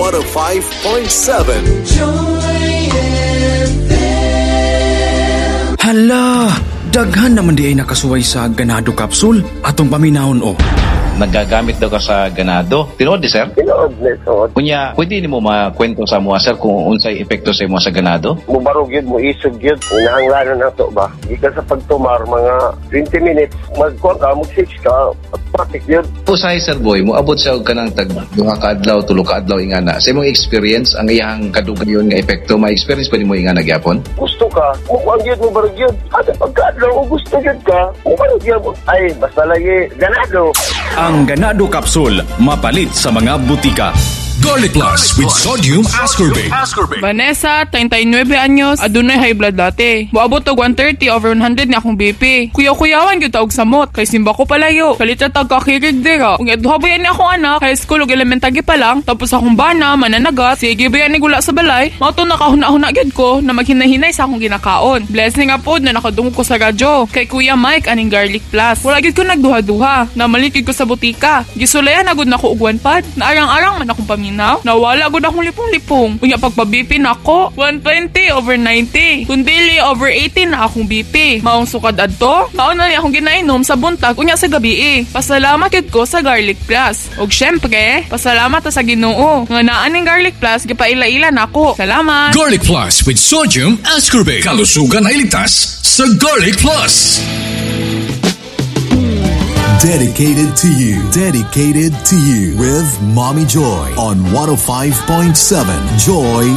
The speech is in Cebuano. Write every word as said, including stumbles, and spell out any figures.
one oh five point seven. Joy F M. Hala, daghan naman di ay nakasuway sa Ganado Capsule. Atong paminahon o. Nagagamit daw ka sa Ganado. Tinuod di, sir? Tinuod ni, tinuod. Kunya, pwede nimo makwento sa mua, sir, kung unsay epekto sa imo sa Ganado? Mubarog yun, muisog yun. Inahanglanon na to ba? Gikan sa pagtumar, mga twenty minutes, magkuha ka, mag-six ka, automatic yun. Usahay, sir boy, moabot siya og kanang tag duha ka adlaw, tulo ka adlaw ingana. Sa imong experience, ang iyang kadugayon nga epekto, ma-experience pa nimo ingana gyapon? Gusto ka, mukuha yun, mubarog yun. At pagkaadlaw, gusto yun ka, mubarog yun. Ay, basta lagi, Ganado. Ang Ganado Capsule, mapalit sa mga butika. Garlic Plus with sodium ascorbate. Vanessa, treinta y nueve años, adunay high blood dati. Moabot og one thirty over one hundred ni akong B P. Kuyaw-kuyawan gyud ta og samot, kay simba ko palayo. Kalit ra tag kakirig dira. Ug duha ba ni akong anak, high school ug elementary pa lang, tapos akong bana mananagat, sige ba ni gula sa balay. Mao to nakahuna-huna gyud ko na maghinay-hinay sa akong ginakaon. Blessing nga pod na nakadungog ko sa radyo kay Kuya Mike aning Garlic Plus. Wala gyud ko nagduha-duha. Namalit gyud ko sa butika. Gisulayan na gud nako og one pad. Naarang-arang man akong paminaw. Nawala gud akong lipong-lipong. Unya pagpa-B P nako, one twenty over ninety. Kun dili over eighty na akong B P. Maong sukad adto, mao na ni akong ginainom sa buntag unya sa gabi eh. Pasalamat gyud ko sa Garlic Plus. Og syempre, pasalamat ta sa Ginoo nga naa ning Garlic Plus gipaila-ila nako. Salamat. Garlic Plus with sodium ascorbate. Kalusugan ay ligtas sa Garlic Plus. Dedicated to you. Dedicated to you. With Mommy Joy on one oh five point seven Joy